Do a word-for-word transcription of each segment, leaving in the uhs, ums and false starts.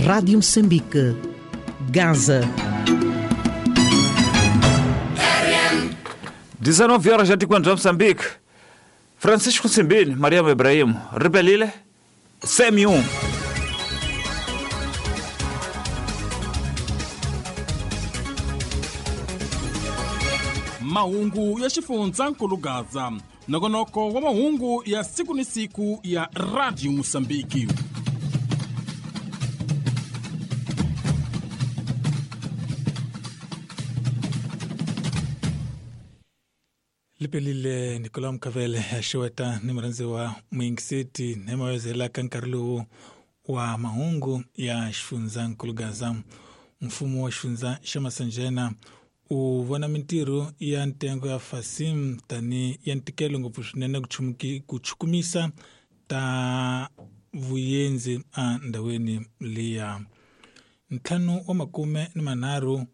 Rádio Moçambique, Gaza. dezenove horas já te quando Moçambique. Francisco Simbini, Mariam Ibrahim, Rebelile, C M um. Mahungu ya xifundzankulu Gaza, nongonoko wa mahungu ya siku ni siku ya Radio Mosambiki. Lipelile Nicolas Mkavele ya xeweta ni murhandzi wa Mwingiseti ni mawezela ka nkarhi lowu wa mahungu ya xifundzankulu Gaza. Mfumo wa xifundza xa Masanjena u vona mintirho ya ntengo ya Fasim tani ya ntikelo ngopfu swinene ku chukumisa ta vuyenzi endhawini liya. Ntlhanu wa makume ni manharhu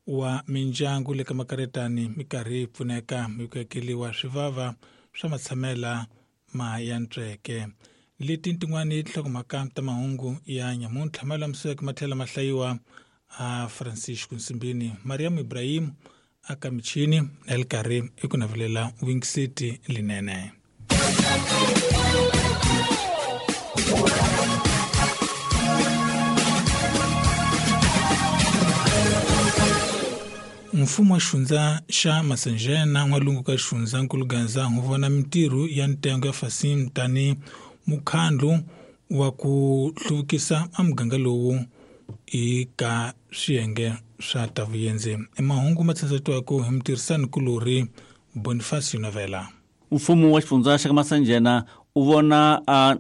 wa mindyangu le ka makaretani minkarhi yi pfuneka hi ku akeriwa swivava swa matshamela ma ya ntsweke. Leti tin'wani tinhlokomhaka ta mahungu ya nyamuntlha ma lulamiseke ma tlhela ma hlayiwa a Francisco Nsimbini, Mariam Ibrahim aka michini na le karhi i ku navelela Wing City linene. Mfumo wa xifundza xa Masanjena n'walungu ka xifundzankulu Gaza wu vona mintirho ya ntengo ya Fasim tani mukhandlu wa ku hluvukisa a muganga lowu eka swiyenge swa ta vuyenzi. Mahungu ma tsandzatiwaka hi mutirhisani-kulorhi Bonifacio Novela. Mfumo wa xifundza xa Masanjena u vona a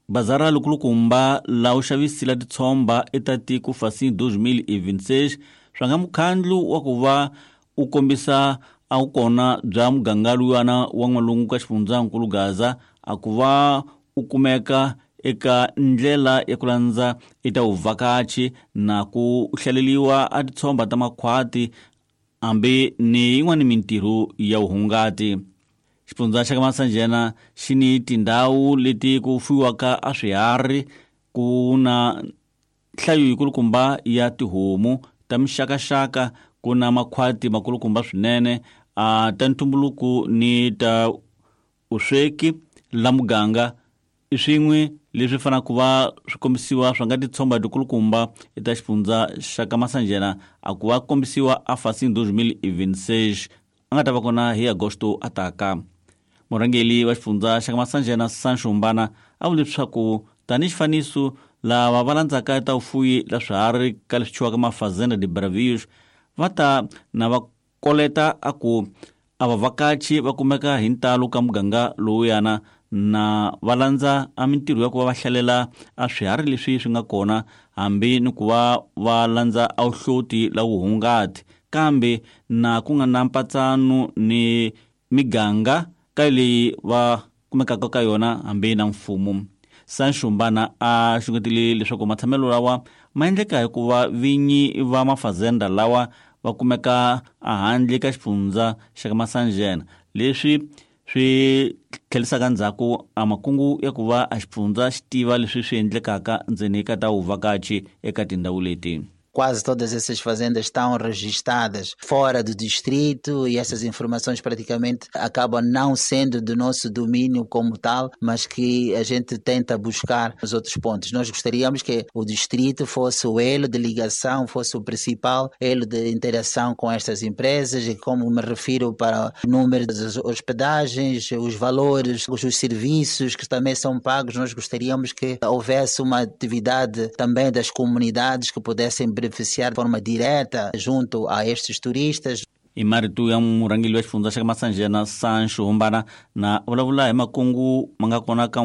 bazara lokulukumba la u xavisila titshomba eta tiko Fasim dois mil e vinte e seis swa nga mukhandlu wa ku va u kombisa a wu kona bya muganga luyana wa n'walungu ka xifundzankulu Gaza a ku va u kumeka eka ndlela ya ku landza eka vuvhakachi na ku hlaleliwa a titshomba ta makhwati hambi ni yin'wana mintirho ya vuhungati. Xifundza xa ka Masanjena xi ni tindhawu leti ku fuyiwaka a swiharhi, ku na nhlayo yikulukumba ya tihomu ta mixakaxaka, ku na makhwati makulukumba swinene a ta ntumbuluko ni ta vusweki la muganga i swin'we leswi fanaka ku va swi kombisiwa swa nga titshomba tikulukumba eka xifundza xa ka Masanjena a ku va kombisiwa a Fasim dois mil e vinte e seis a nga ta va kona hi Agosto a taka. Murhangeri wa xifundza xa ka Masanjena Sancho Mbana a vule leswaku tanihi xifaniso lava va landzaka ta vufuyi la swiharhi ka leswi thyiwaka mafazenda de Bravios va ta na va koleta a ku a vavhakachi va kumeka hi ntalo ka muganga lowuyana na va landza a mintirho ya ku va va hlalela a swiharhi leswi swi nga kona hambi ni ku va va landza a vuhloti la vuhungati, kambe na ku nga na mpatsano ni miganga ka leyi va kumekaka ka yona hambi na mfumo. Sancho Mbana a xungetile leswaku matshamelo lawa ma endleka hikuva vinyi va mafazenda lawa va kumeka ehandle ka xifundza xa ka Masanjena, leswi swi tlhelisaka ndzhaku a makungu ya ku va a xifundza xi tiva leswi swi endlekaka ndzeni ka ta vuvhakachi eka tindhawu leti. Quase todas essas fazendas estão registradas fora do distrito e essas informações praticamente acabam não sendo do nosso domínio como tal, mas que a gente tenta buscar nos outros pontos. Nós gostaríamos que o distrito fosse o elo de ligação, fosse o principal elo de interação com estas empresas e, como me refiro, para o número das hospedagens, os valores, os serviços que também são pagos. Nós gostaríamos que houvesse uma atividade também das comunidades que pudessem beneficiar de forma direta junto a estes turistas. I marito ya murhangeri wa xifundza xa ka Masanjena Sancho Mbana na vulavula hi makungu ma nga kona ka